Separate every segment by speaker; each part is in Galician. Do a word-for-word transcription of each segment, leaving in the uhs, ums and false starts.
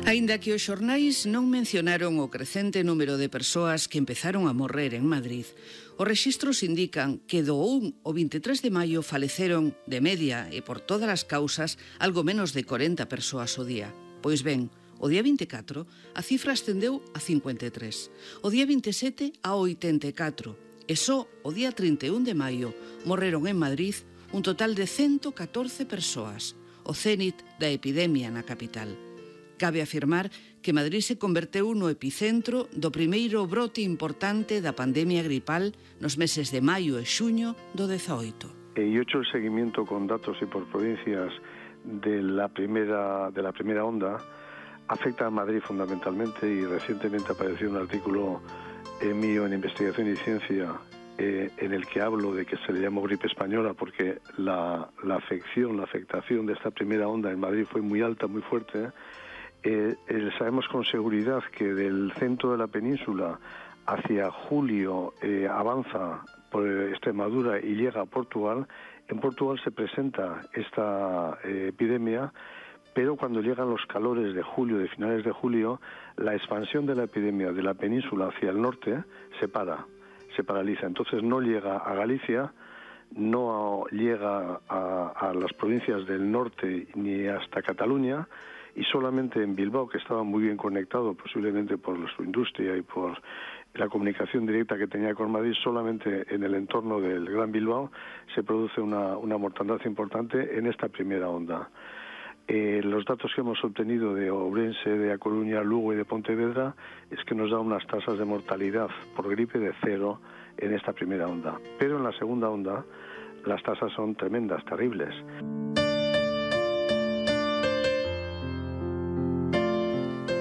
Speaker 1: Aínda que os xornais non mencionaron o crecente número de persoas que empezaron a morrer en Madrid, os rexistros indican que do un ao vinte e tres de maio faleceron, de media e por todas as causas, algo menos de corenta persoas ao día. Pois ben, o día vinte e catro a cifra ascendeu a cincuenta e tres, o día vinte e sete a oitenta e catro, e só o día trinta e un de maio morreron en Madrid un total de cento catorce persoas, o cénit da epidemia na capital. Cabe afirmar que Madrid se converteu no epicentro do primeiro brote importante da pandemia gripal nos meses de maio e xuño do dezaoito.
Speaker 2: E hecho el seguimiento con datos y por provincias de la primera, de la primera onda, afecta a Madrid fundamentalmente, y recientemente apareció un artículo eh, mío en Investigación y Ciencia eh, en el que hablo de que se le llamó gripe española porque la, la afección, la afectación de esta primera onda en Madrid fue muy alta, muy fuerte. Eh, eh, sabemos con seguridad que del centro de la península hacia julio eh, avanza por Extremadura y llega a Portugal. En Portugal se presenta esta eh, epidemia, pero cuando llegan los calores de julio, de finales de julio, la expansión de la epidemia de la península hacia el norte se para, se paraliza. Entonces no llega a Galicia, no llega a, a las provincias del norte ni hasta Cataluña, y solamente en Bilbao, que estaba muy bien conectado, posiblemente por su industria y por la comunicación directa que tenía con Madrid, solamente en el entorno del Gran Bilbao se produce una, una mortandad importante en esta primera onda. Eh, los datos que hemos obtenido de Ourense, de A Coruña, Lugo y de Pontevedra es que nos da unas tasas de mortalidad por gripe de cero en esta primera onda. Pero en la segunda onda las tasas son tremendas, terribles.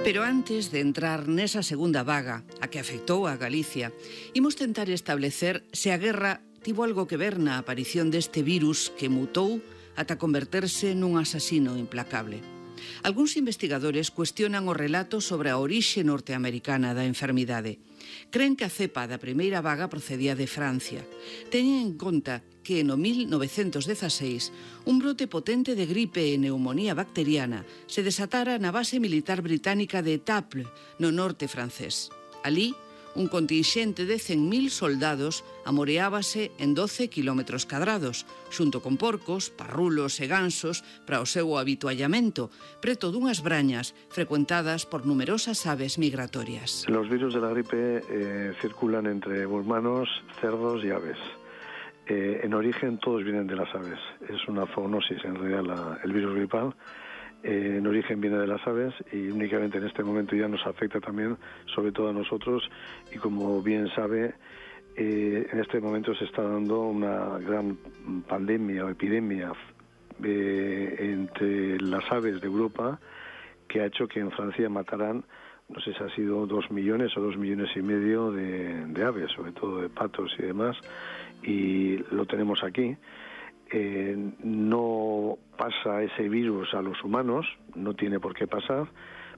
Speaker 1: Pero antes de entrar nesa segunda vaga, a que afectou a Galicia, imos tentar establecer se a guerra tivo algo que ver na aparición deste virus que mutou ata converterse nun asasino implacable. Algúns investigadores cuestionan o relato sobre a orixe norteamericana da enfermidade. Creen que a cepa da primeira vaga procedía de Francia. Teñen en conta que no mil novecentos dezaseis un brote potente de gripe e neumonía bacteriana se desatara na base militar británica de Étaples, no norte francés. Alí, un contingente de cen mil soldados amoreábase en doce kilómetros cadrados, xunto con porcos, parrulos e gansos para o seu habituallamento, preto dunhas brañas frecuentadas por numerosas aves migratorias.
Speaker 2: Los virus de la gripe eh, circulan entre humanos, cerdos y aves. Eh, en origen todos vienen de las aves. Es una zoonosis en realidad la, el virus gripal. Eh, en origen viene de las aves y únicamente en este momento ya nos afecta también, sobre todo a nosotros, y como bien sabe, eh, en este momento se está dando una gran pandemia o epidemia eh, entre las aves de Europa que ha hecho que en Francia mataran, no sé si ha sido dos millones o dos millones y medio de, de aves, sobre todo de patos y demás, y lo tenemos aquí. Eh, no pasa ese virus a los humanos, no tiene por qué pasar,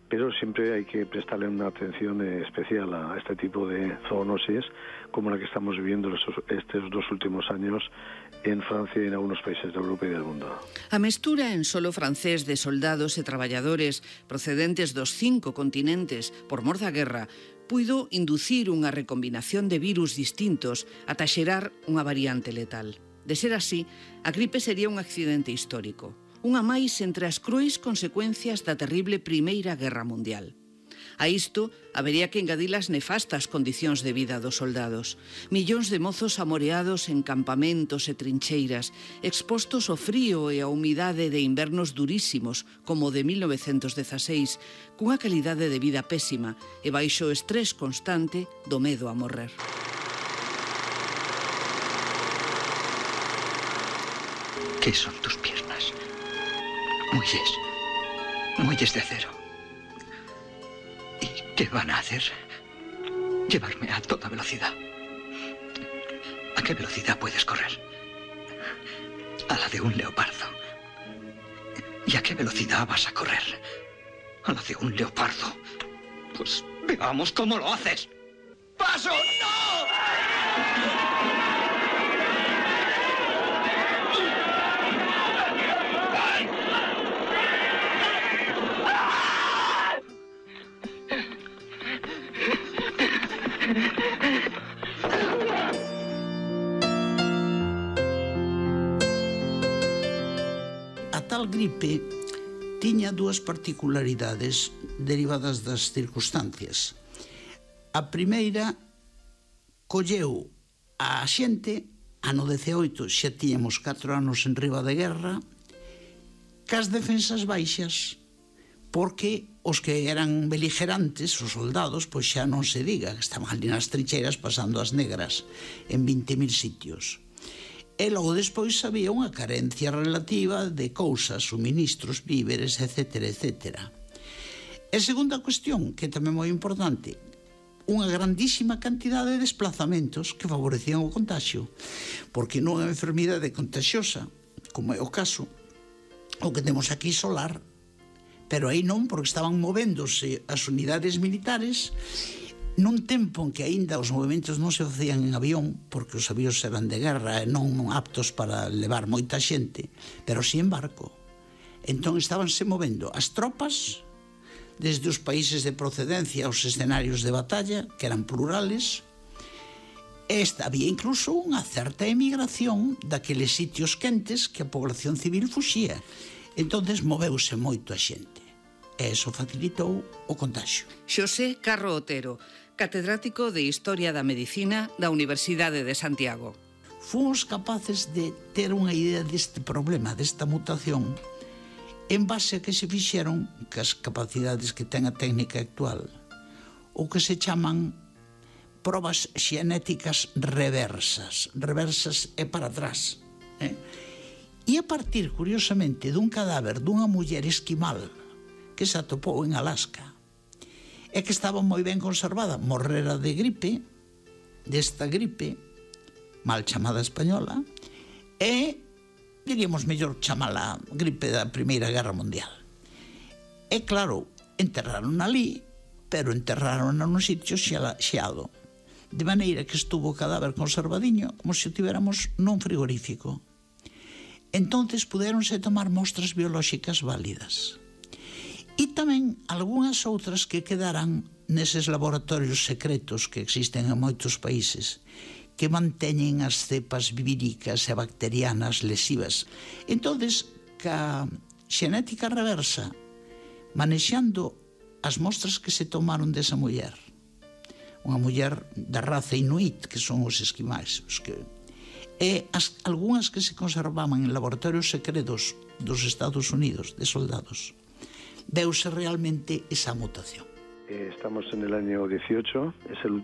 Speaker 2: pero siempre hay que prestarle una atención especial a este tipo de zoonosis, como la que estamos viviendo estos, estos dos últimos años en Francia y en algunos países de Europa y del mundo.
Speaker 1: A mestura en solo francés de soldados e traballadores procedentes dos cinco continentes por mor da guerra puido inducir unha recombinación de virus distintos ata xerar unha variante letal. De ser así, a gripe sería un accidente histórico, unha máis entre as cruéis consecuencias da terrible Primeira Guerra Mundial. A isto, habería que engadir as nefastas condicións de vida dos soldados. Millóns de mozos amoreados en campamentos e trincheiras, expostos ao frío e á humidade de invernos durísimos, como o de mil novecentos dezaseis, cunha calidade de vida pésima e baixo o estrés constante do medo a morrer.
Speaker 3: ¿Qué son tus piernas? Muelles, muelles de acero. ¿Y qué van a hacer? Llevarme a toda velocidad. ¿A qué velocidad puedes correr? A la de un leopardo. ¿Y a qué velocidad vas a correr? A la de un leopardo. Pues veamos cómo lo haces. ¡Paso! ¡No!
Speaker 4: gripe tiña dúas particularidades derivadas das circunstancias. A primeira, colleu a xente, ano dezaoito xa tiñamos catro anos en riba de guerra, cas defensas baixas, porque os que eran beligerantes, os soldados, pois xa non se diga, que estaban ali nas trincheiras pasando as negras en vinte mil sitios. E logo despois había unha carencia relativa de cousas, suministros, víveres, etcétera, etcétera. E segunda cuestión, que tamén moi importante, unha grandísima cantidade de desplazamentos que favorecían o contagio, porque non é unha enfermidade contagiosa, como é o caso, o que temos aquí solar, pero aí non, porque estaban movéndose as unidades militares nun tempo en que aínda os movimentos non se facían en avión, porque os avións eran de guerra e non aptos para levar moita xente, pero si en barco. Entón estabanse movendo as tropas desde os países de procedencia aos escenarios de batalla, que eran plurales, e había incluso unha certa emigración daqueles sitios quentes que a población civil fuxía. Entonces moveuse moito a xente. E iso facilitou o contagio.
Speaker 1: Xosé Carro Otero, catedrático de Historia da Medicina da Universidade de Santiago.
Speaker 4: Fomos capaces de ter unha idea deste problema, desta mutación, en base a que se fixeron que as capacidades que ten a técnica actual, o que se chaman probas xenéticas reversas. Reversas é para atrás. Eh? E a partir, curiosamente, dun cadáver dunha muller esquimal que se atopou en Alaska, e que estaba moi ben conservada, morrera de gripe, desta gripe, mal chamada española, e, diríamos mellor chamala gripe da Primeira Guerra Mundial. E claro, enterraron ali, pero enterraron nun sitio xeado, de maneira que estuvo o cadáver conservadiño como se o tiveramos nun frigorífico. Entonces puderonse tomar mostras biolóxicas válidas. E tamén algunhas outras que quedaran neses laboratorios secretos que existen en moitos países, que manteñen as cepas víricas e bacterianas lesivas. Entonces, ca xenética reversa, manexando as mostras que se tomaron desa muller, unha muller da raza inuit, que son os esquimais, os que... e as, algunhas que se conservaban en laboratorios secretos dos Estados Unidos, de soldados, veuse realmente esa mutación.
Speaker 2: Estamos en el año dieciocho, es el